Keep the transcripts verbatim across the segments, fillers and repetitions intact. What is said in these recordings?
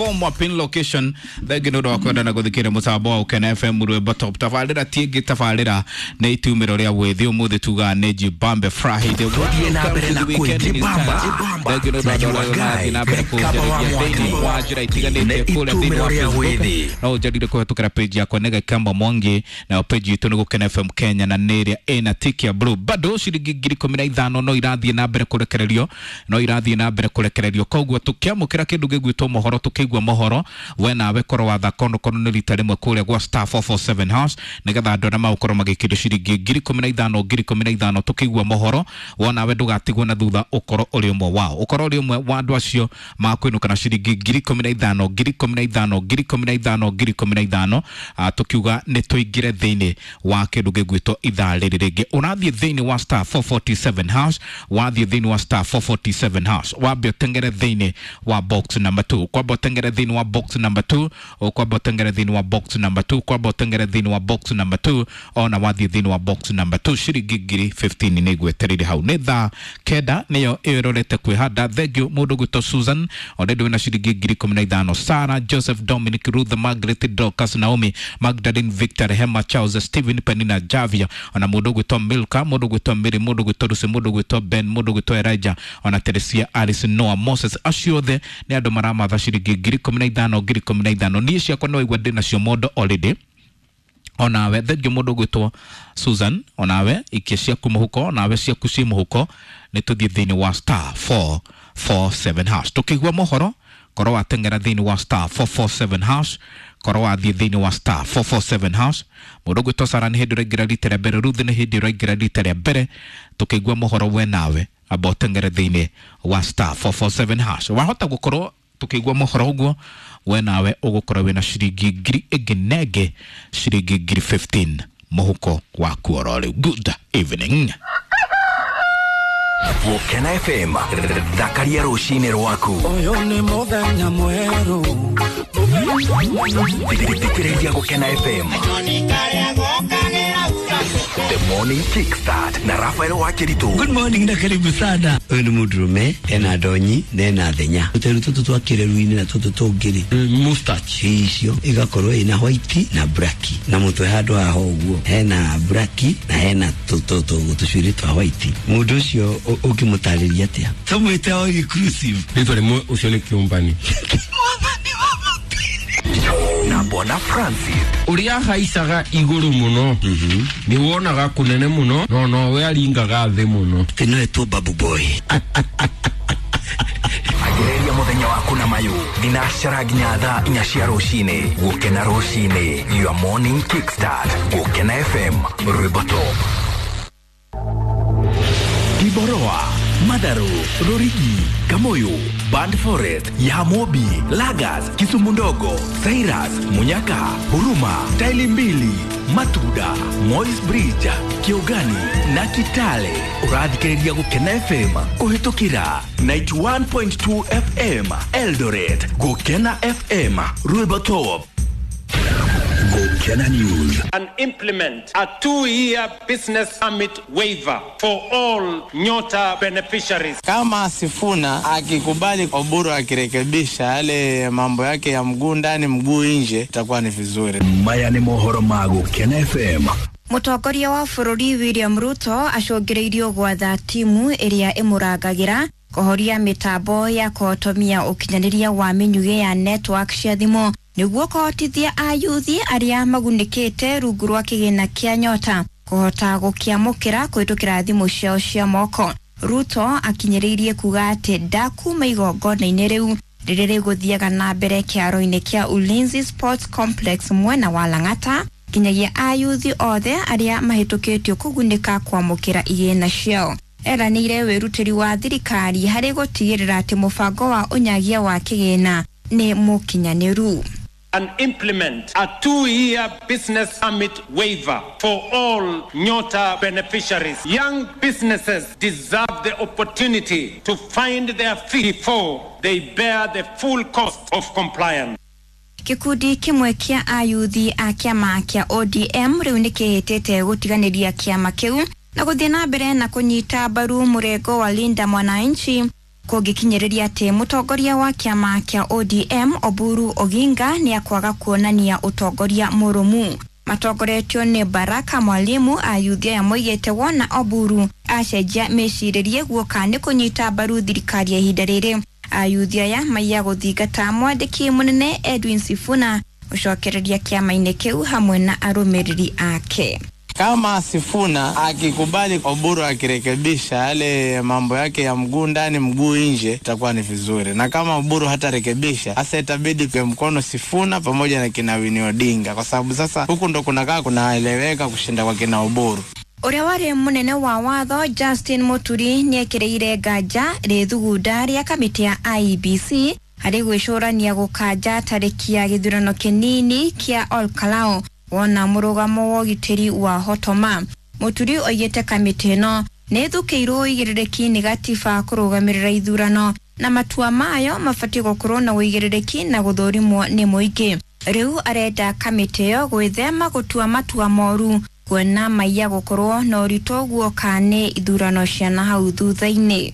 Form pin location thengi nä å ndå wa kwenda na gå thikä rä må tambo wa Ukena F M rwämbo top tabarä tiängä tabarä nä itumä ro rä a wä thä å må thä tugaga nä jibambe Friday. Tuthiĩ na mbere na kwĩjibamba thengi nä å ndå wa andå na mbere kå thä wa njä ra itiganä te kå rä a thä inä wa Facebook no å njarire kå hetå kä ra page yakwa nä Gakamba Mwangi nayo page itå nä Gũkena F M Kenya na nä ä rä a ĩna tiki ya blue bado ciringi ngiri ikũmi na ithano no irathiĩ na mbere kũrekererio no irathiĩ na mbere kũrekererio koguo tũkĩamũkĩra kĩndũ gĩgwĩtwo mohoro tũkĩigua mohoro we nawe korwo wathaka onokorwo nĩ rita rĩmwe kũrĩa gwa star four four seven hash nĩgetha andũ arĩa magũkorwo magĩkĩrio ciringi ngiri ikũmi na ithano ngiri ikũmi na ithano tũkĩigua mohoro wo nawe ndũgatigwo na thutha ũkorwo ũrĩ ũmwe wao ũkorwo ũrĩ ũmwe wa andũ acio makwĩnũka na ciringi ngiri ikũmi na ithano ngiri ikũmi na ithano ngiri ikũmi na ithano ngiri ikũmi na ithano tũkiuga nĩ tũingĩre thĩinĩ wa kĩndũ gĩgwĩtwo ithaa rĩrĩ rĩngĩ ũrathiĩ thĩinĩ wa star four forty-seven hash wathiĩ thĩinĩ wa star four forty-seven hash wambe ũtengere thĩinĩ wa box number two kwamba ũtengere thĩinĩ wa box number two ũkwamba ũtengere thĩinĩ wa box number two kwamba ũtengere thĩinĩ wa box number two ona wathiĩ thĩinĩ wa box number two ciringi ngiri fifteen nĩ igwetereire hau nĩ thaa kenda nĩyo ĩrorete kwĩhanda thengiũ mũndũ gwĩtwo Susan already wĩna ciringi ngiri ikũmi na ithano Sarah Joseph Dominic Ruth Margaret Dorcas Naomi Magdalene Victor Rehema Charles Stephen Penina Javia ona mũndũ gwĩtwo Milka mũndũ gwĩtwo Mary mũndũ gwĩtwo Lucy mũndũ gwĩtwo Ben mũndũ gwĩtwo Elijah ona Teresia Alice Noah Moses acio othe nĩ andũ maramatha ciringi ngiri ikũmi na ithano ngiri ikũmi na ithano niĩ ciakwa no igua ndĩ nacio mondo already onawe thengiũ mũndũ gwĩtwo Susan onawe ikia ciaku mũhuko onawe ciaku ciĩ mũhuko nĩ tũthiĩ thĩinĩ wa star four four seven hash tũkĩigua mohoro korwo wateng'era thĩinĩ wa star four four seven hash korwo wathiĩ thĩinĩ wa star four four seven hash mũndũ gwĩtwo Sara nĩ hĩndĩ ũraingĩra rita rĩa mbere Ruth nĩ hĩndĩ ũraingĩra rita rĩa mbere tũkĩigua mohoro we nawe amba ũteng'ere thĩinĩ wa star four four seven hash wahota gũkorwo tũkĩigua mohoro ũguo we nawe ũgũkorwo wĩna ciringi ngiri ĩngĩ na ĩngĩ ciringi ngiri fifteen mũhuko waku oro rĩu. Good evening. Gũkena F M thakaria rũcinĩ rwaku ũyũ nĩ mũthenya mwerũ thikĩrĩria Gũkena F M The Morning Kickstart na Rafael Wakiritu. Good morning na karibu sana. Ũyũ nĩ mũndũrũme ena ndonyi na ena thenya tũteru tũtũ twa kĩreru-inĩ na tũtũ tũngĩ mustache icio igakorwo ina white na black na mũtwe handũ haha ũguo hena black na hena tũcuĩrĩ twa white mũndũ ũcio ũngĩmũtarĩria atĩa tũmwĩte all inclusive rĩtwa rĩmwe ũcio nĩ kĩũmbani na Bwana Francis uria haicaga iguru muno ni wonaga kunene muno no no we aringaga thi muno tino etwo babu boy agereria muthenya waku na mayu thinacara nginya thaa inya cia rucini Gukena rucini your morning kickstart Gukena F M rwimbo top Kiboroa Madaru, Rorigi, Kamoyo, Band Forest, Yamobi, Lagas, Kisumu Ndogo, Cyrus, Munyaka, Huruma, Taili Mbili, Matuda, Moi's Bridge, Kiogani na Kitale. Urathikĩrĩria Gũkena F M kũhĩtũkĩra ninety-one point two F M Eldoret. Gũkena F M Rwimbo Top. Gũkena News. And implement a two-year business permit waiver for all Nyota beneficiaries. Kama Sifuna akikubali Oburu akirekebisha yale mambo yake ya mguu ndani mguu nje itakuwa ni vizuri. Maya ni mohoro ma Gũkena F M. Mũtongoria wa bũrũri William Ruto acũngĩrĩirio gwatha timu ĩrĩa ĩmũrangagĩra kũhoria mĩtambo ya kũhotomia ũkinyanĩria wa mĩnyugĩ ya network cia thimũ nĩguo kũhotithia ayuthi arĩa magunĩkĩte rungu rwa kĩgĩna kĩa Nyota kũhota gũkĩamũkĩra kũhĩtũkĩra thimũ ciao cia moko. Ruto akinyĩrĩirie kuga atĩ ndakuma igongona-inĩ rĩu rĩrĩa rĩgũthiaga na mbere kĩaro-inĩ kĩa Ulinzi Sports Complex mwena wa Lang'ata nginyagia ayuthi othe arĩa mahĩtũkĩtio kũgunĩka kwamũkĩra igĩna ciao. Eranĩire wĩrutĩri wa thirikari harĩ gũtigĩrĩra atĩ mũbango wa ũnyagia wa kĩgĩna nĩ mũkinyanĩru. And implement a two-year business permit waiver for all Nyota beneficiaries. Young businesses deserve the opportunity to find their feet before they bear the full cost of compliance. Kikundi kimwe kia ayuthi a kĩama kĩa O D M rĩu nĩkĩhĩtĩte gũtiganĩria kĩama kĩu na gũthiĩ na mbere na kũnyita mbaru mũrengo wa Linda Mwananchi Kũngĩkinyĩrĩria atĩ mũtongoria wa kĩama kĩa O D M Oburu Oginga nĩ akwaga kuonania ũtongoria mũrũmu. Matongoretio nĩ Baraka Mwalimu, ayuthi aya moigĩte wona Oburu acenjia mĩcirĩrie guoka nĩ kũnyita mbaru thirikari ya ihinda rĩrĩ. Ayuthi aya maiya gũthingata mwandĩki mũnene Edwin Sifuna gũcokereria kĩama-inĩ kĩu hamwe na arũmĩrĩri ake. Kama Sifuna akikubali Oburu akirekebisha yale mambo yake ya mguu ndani mguu nje, itakuwa ni vizuri. Na kama Oburu hatarekebisha, sasa itabidi kwa mkono Sifuna pamoja na kina Winnie Odinga, kwa sababu sasa huku ndo kunakaa kunaeleweka kushinda kwa kina Oburu. Ũrĩa warĩ mũnene wa watho Justin Muturi nĩekĩrĩire nganja rĩthugunda rĩa kamĩtĩ ya I E B C harĩ gwĩcũrania gũkanja tarĩki ya gĩthurano kĩnini kĩa Olkalou wona mũrũgamo wa ũgitĩri wa hotoma. Muturi oigĩte kamĩtĩ ĩno nĩ ĩthukĩirwo ũigĩrĩrĩki nĩ gatiba kũrũgamĩrĩra ithurano na matua mayo mabatiĩ gũkorwo na ũigĩrĩrĩki na gũthũrimwo nĩ mũingĩ. Rĩu arenda kamĩtĩ ĩyo gwĩthema gũtua matua moru kuona maiya gũkorwo na ũritũ guoka nĩ ithurano cia na hau thutha-inĩ.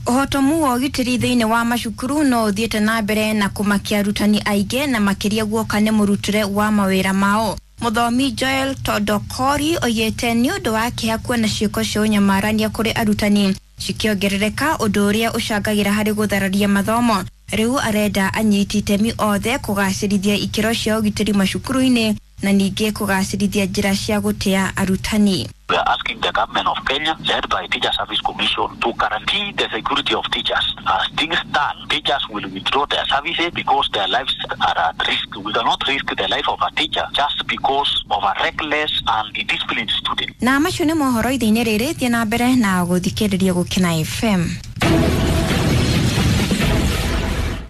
Ũhotomu wa ũgitĩri thĩinĩ wa macukuru no ũthiĩte na mbere na kũmakia arutani aingĩ na makĩria guoka nĩ mũrutĩre wa mawĩra mao. Mũthomi Joel Todokori oigĩte nĩ ũndũ wa kĩeha kuona ciĩko cia ũnyamarania kũrĩ arutani cikĩongerereka, ũndũ ũrĩa ũcangagĩra harĩ gũthararia mathomo. Rĩu arenda anyiti itemi othe kũgacĩrithia ikĩro cia ũgitĩri macukuru-inĩ na ningĩ kũgacĩrithia njĩra cia gũtĩa arutani. We are asking the government of Kenya, led by Teacher Service Commission, to guarantee the security of teachers. As things stand, teachers will withdraw their services because their lives are at risk. We cannot risk the life of a teacher just because of a reckless and indisciplined student. Na macio nĩ mohoro ithe-inĩ rĩrĩ, thiĩ na mbere na gũthikĩrĩria Gũkena F M.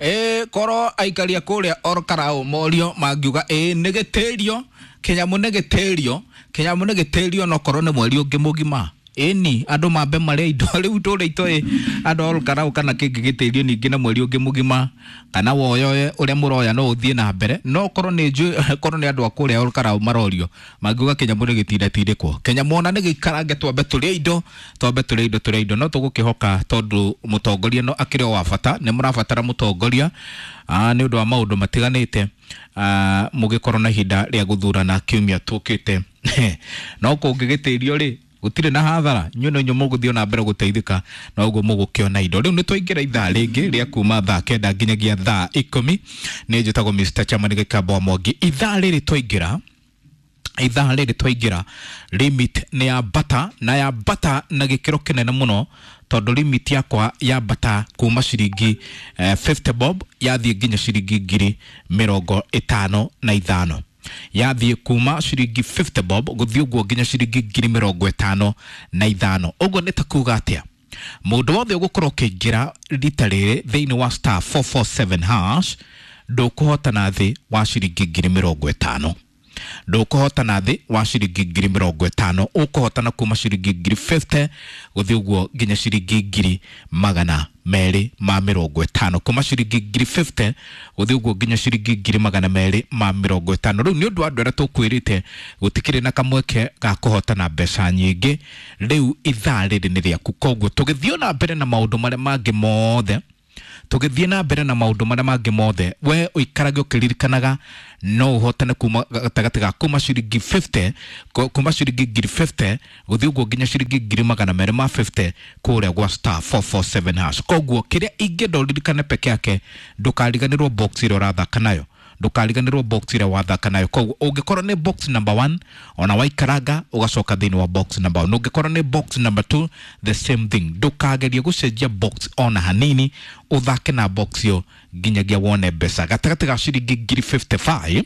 E koro aikaria kũrĩa Olkalou morio mangiuga ĩ nĩ gĩtĩrio kĩnyamũ nĩ gĩtĩrio kĩnyamũ nĩ gĩtĩrio no korwo nĩ mweri ũngĩ mũgima ĩni andũ mambe marĩa indo rĩu tũrĩa itoĩ andũ a Olkalou kana kĩngĩ gĩtĩrio ningĩ na mweri ũngĩ mũgima kana woyoe ũrĩa mũroya no ũthiĩ na mbere no korwo nĩ njũĩ korwo nĩ andũ a kũrĩa Olkalou marorio mangiuga kĩnyamũ nĩ gĩtindatindĩkwo kĩnyamũ ona nĩ gĩikarange twambe tũrĩe indo twambe tũrĩe indo tũrĩe indo no tũgũkĩhoka tondũ mũtongoria no akĩrĩ o wa bata nĩ mũrabatara mũtongoria nĩ ũndũ wa maũndũ matiganĩte mũgĩkorwo na ihinda rĩa gũthurana kiumia tũkĩte no kũngĩgĩtĩrio rĩ gũtirĩ na hathara inyuĩ no inyuĩ mũgũthiĩ na mbere gũteithĩka na ũguo mũgũkĩona indo. Rĩu nĩ twaingĩra ithaa rĩngĩ rĩa kuma thaa kenda nginyagia thaa ikũmi. Nĩ njĩtagwo Mister Chairman Gĩkamba wa Mwangi. Ithaa rĩrĩ twaingĩra ithaa rĩrĩ twaingĩra limit nĩ ya bata na ya bata na gĩkĩro kĩnene mũno tondũ limit yakwa ya bata kuma ciringi eh, fifty bob yathiĩ nginya ciringi ngiri mĩrongo ĩtano na ithano yathiĩ kuma ciringi fifty bob gũthiĩ ũguo nginya ciringi ngiri mĩrongo ĩtano na ithano. Ũguo nĩ ta kuga atĩa mũndũ wothe ũgũkorwo ũkĩingĩra rita rĩrĩ thĩinĩ wa star four four seven hash ndũkũhotana thĩ wa ciringi ngiri mĩrongo ĩtano ndũkũhotana thĩ wa ciringi ngiri mĩrongo ĩtano ũkũhotana kuma ciringi ngiri fifty gũthiĩ ũguo nginya ciringi ngiri magana merĩ ma mĩrongo ĩtano kuma ciringi ngiri fifty gũthiĩ ũguo nginya ciringi ngiri magana merĩ ma mĩrongo ĩtano. Rĩu nĩ ũndũ wa andũ arĩa tũkwĩrĩte gũtikĩrĩ na kamweke ga kũhotana mbeca nyingĩ rĩu ithaa rĩrĩ nĩ rĩaku. Koguo tũgĩthiĩ na mbere na maũndũ marĩa mangĩ mothe tũgĩthiĩ na mbere na maũndũ marĩa mangĩ mothe we ũikarage ũkĩririkanaga no ũhotane kuma gatagatĩ ga kuma ciringi fifty kuma ciringi ngiri fifty gũthiĩ ũguo nginya ciringi ngiri magana merĩ ma fifty kũrĩa gwa star four four seven hash. Koguo kĩrĩa ingĩenda ũririkane peke yake ndũkariganĩrwo box ĩrĩa ũrathaka nayo ndũkariganĩrwo box ĩrĩa wathaka nayo. Koguo ũngĩkorwo nĩ box number one ona waikaranga ũgacoka thĩinĩ wa box number one, ũngĩkorwo nĩ box number two the same thing, ndũkagerie gũcenjia box ona hanini ũthake na box ĩyo nginyagia wone mbeca gatagatĩ ga ciringi ngiri fifty five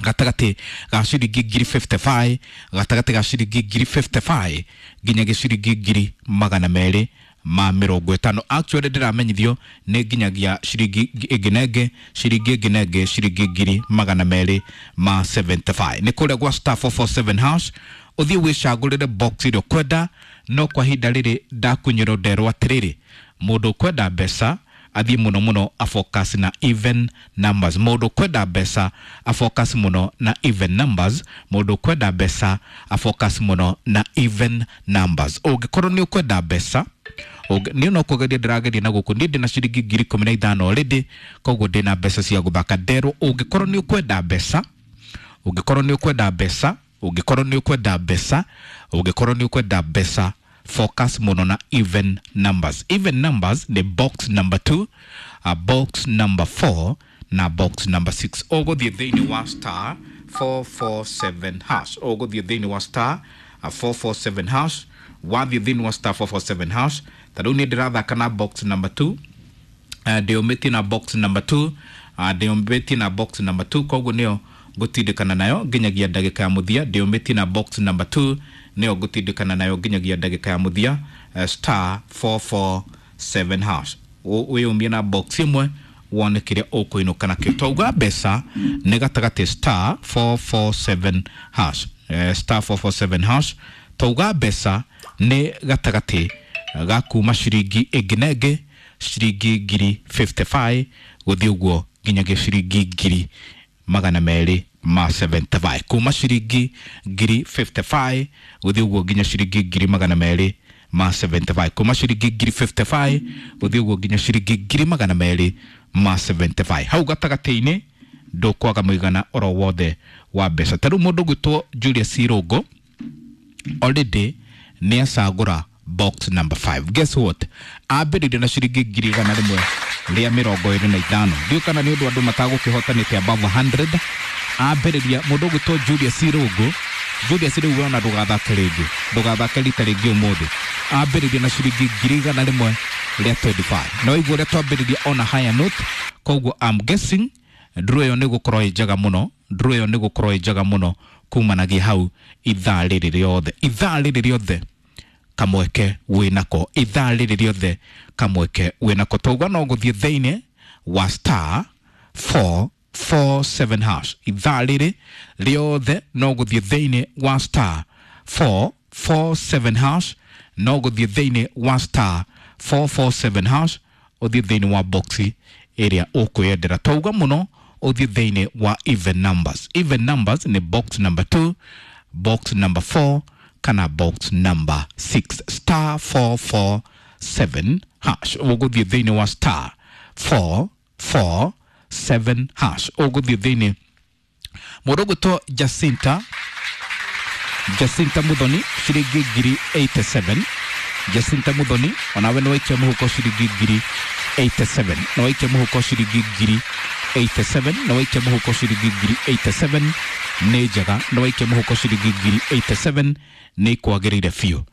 gatagatĩ ga ciringi ngiri fifty five gatagatĩ ga ciringi ngiri fifty five nginyagia ciringi ngiri magana merĩ ma mĩrongo ĩtano. Actually ndĩramenyithio nĩ nginyagia ciringi ĩngĩ na ĩngĩ ciringi ĩngĩ na ĩngĩ ciringi ngiri magana merĩ ma seventy five. Nĩ kũrĩa gwa star four four seven hash ũthiĩ wĩcagũrĩre box ĩrĩa ũkwenda no kwa ihinda rĩrĩ ndakunyĩrwo nderwo atĩrĩrĩ mũndũ ũkwenda mbeca athiĩ mũno mũno afocus na even numbers. Mũndũ ũkwenda mbeca afocus mũno na even numbers. Mũndũ ũkwenda mbeca afocus mũno na even numbers. Ũngĩkorwo nĩ ũkwenda mbeca Niĩ no kũgeria ndĩrageria na gũkũ niĩ ndĩna ciringi ngiri ikũmi na ithano already, koguo ndĩna mbeca cia gũthaka. Nderwo ũngĩkorwo nĩ ũkwenda mbeca, ũngĩkorwo nĩ ũkwenda mbeca, ũngĩkorwo nĩ ũkwenda mbeca, ũngĩkorwo nĩ ũkwenda mbeca, focus mũno na even numbers. Even numbers nĩ box number two, uh, box number four na box number six. Ũgũthiĩ thĩinĩ wa star four four seven hash, ũgũthiĩ thĩinĩ wa star uh, four four seven hash. Wathiĩ thĩinĩ wa star four four seven hash, ta rĩu niĩ ndĩrathaka na box number two, uh, ndĩũmĩtie na box number two, uh, ndĩũmĩtie na box number two, koguo nĩyo ngũtindĩkana nayo nginyagia ndagĩka ya mũthia. Ndĩũmĩtie na box number two, nĩyo ngũtindĩkana nayo nginyagia ndagĩka ya mũthia. uh, star four four seven hash, wĩyũmie na box ĩmwe wone kĩrĩa ũkũinũka nakĩo. Twauga mbeca nĩ gatagatĩ star four four seven hash, uh, star four four seven hash. Twauga mbeca nĩ gatagatĩ ga kuma ciringi ĩngĩ na ĩngĩ, ciringi ngiri fifty-five gũthiĩ ũguo nginyagia ciringi ngiri magana merĩ ma seventy-five. Kuma ciringi ngiri fifty-five gũthiĩ ũguo nginya ciringi ngiri magana merĩ ma seventy-five. Kuma ciringi ngiri fifty-five gũthiĩ ũguo nginya ciringi ngiri magana merĩ ma seventy-five. Hau gatagatĩ-inĩ ndũkwaga mũigana oro wothe wa mbeca. Ta rĩu mũndũ ũgwĩtwo Julius Irũngũ already nĩ acagũra box number five. Guess what? Ambĩrĩirie na ciringi ngiri igana rĩmwe rĩa mĩrongo ĩrĩ na ithano. Ndiũĩ kana nĩ ũndũ andũ matagũkĩhotanĩte above a hundred. Ambĩrĩria mũndũ ũgwĩtwo Julius Irũngũ. Julius rĩu we ona ndũgathake rĩngĩ, ndũgathake rita rĩngĩ ũmũthĩ. Ambĩrĩria na ciringi ngiri igana rĩmwe rĩa twenty-five. Na waigua ũrĩa twambĩrĩria on a higher note, koguo I'm guessing draw ĩyo nĩ gũkorwo ĩ njega mũno, draw ĩyo nĩ gũkorwo ĩ njega mũno kumanagia hau ithaa rĩrĩ rĩothe, ithaa rĩrĩ rĩothe kamweke wĩnako, ithaa rĩrĩ rĩothe kamweke wĩnako. Twauga no gũthiĩ thĩinĩ wa star four four seven hash, ithaa rĩrĩ rĩothe no gũthiĩ thĩinĩ wa star four four seven hash, no gũthiĩ thĩinĩ wa star four four seven hash, ũthiĩ thĩinĩ wa boxi ĩrĩa ũkwĩyendera. Twauga mũno ũthiĩ thĩinĩ wa even numbers. Even numbers nĩ box number two, box number four kana box number six. Star four four seven hash, ũgũthiĩ thĩinĩ wa star four four seven hash, ũgũthiĩ thĩinĩ. Mũndũ ũgwĩtwo Jacinta, Jacinta Muthoni ciringi ngiri eighty-seven. Jacinta Muthoni onawe nĩ waikia mũhuko ciringi ngiri eighty-seven, nĩ waikia mũhuko ciringi ngiri eighty-seven, nĩ waikia mũhuko ciringi ngiri eighty-seven. Nĩ njega, nĩ waikia mũhuko ciringi ngiri eighty-seven, nĩ kwagĩrĩire biũ.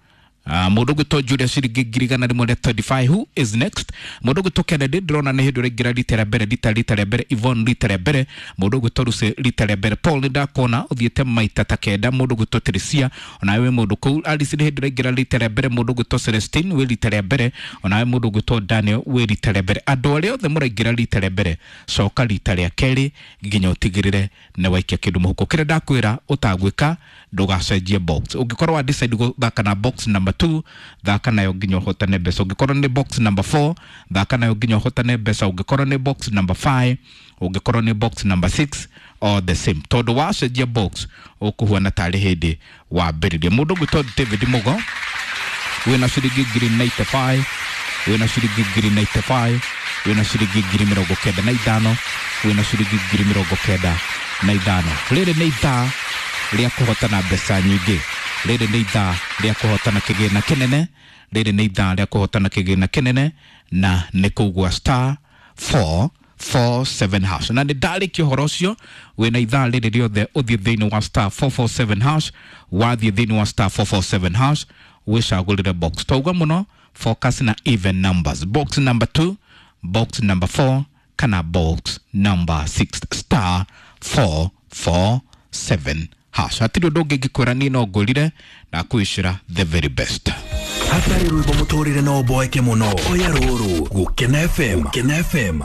Uh, mũndũ ũgwĩtwo Julius ciringi ngiri igana rĩmwe rĩa twenty-five. Who is next? Mũndũ ũgwĩtwo Kennedy ndĩrona nĩ hĩndĩ ũraingĩra rita rĩa mbere, rita rita rĩa mbere. Yvonne rita rĩa mbere. Mũndũ ũgwĩtwo Lucy rita rĩa mbere. Paul nĩ ndakuona ũthiĩte maita ta kenda. Mũndũ ũgwĩtwo Teresia onawe wĩ mũndũ kũu. Alice nĩ hĩndĩ ũraingĩra rita rĩa mbere. Mũndũ ũgwĩtwo Celestine wĩ rita rĩa mbere, onawe mũndũ ũgwĩtwo Daniel wĩ rita rĩa mbere. Andũ arĩa othe mũraingĩra rita rĩa mbere, coka rita rĩa kerĩ nginya ũtigĩrĩre nĩ waikia kĩndũ mũhuko. Kĩrĩa ndakwĩra ũtagwĩka, ndũgacenjie box. Ũngĩkorwo wa decide gũthaka na box number two, thaka nayo nginya ũhotane mbeca. Ũngĩkorwo nĩ box number four, thaka nayo nginya ũhotane mbeca. Ũngĩkorwo nĩ box number five, ũngĩkorwo nĩ box number six, all the same. Tondũ wacenjia box ũkũhuana tarĩ hĩndĩ wambĩrĩria. Mũndũ ũgwĩtwo David Mugo wĩna ciringi ngiri ninety-five, wĩna ciringi ngiri ninety-five, wĩna ciringi ngiri mĩrongo kenda na ithano, wĩna ciringi ngiri mĩrongo kenda na ithano. Rĩrĩ nĩ ithaa rĩa kũhotana mbeca nyingĩ, rĩrĩ nĩ ithaa rĩa kũhotana kĩgĩna kĩnene, rĩrĩ nĩ ithaa rĩa kũhotana kĩgĩna kĩnene, na nĩ kũgua star four four seven hash. Na nĩ ndarĩkia ũhoro ũcio, wĩna ithaa rĩrĩ rĩothe ũthiĩ thĩinĩ wa star four four seven hash, wathiĩ thĩinĩ wa star four four seven hash wĩcagũrĩre box. Twauga mũno focus na even numbers, box number two, box number four kana box number six. Star four four seven hash. Hatirĩ ũndũ ũngĩ ingĩkwĩra, niĩ no ngũrire na kwĩcĩra the very best. Hatarĩ rwĩmbo mũtũrĩre no ũboeke mũno. Oya rũrũ Gũkena F M, Gũkena F M.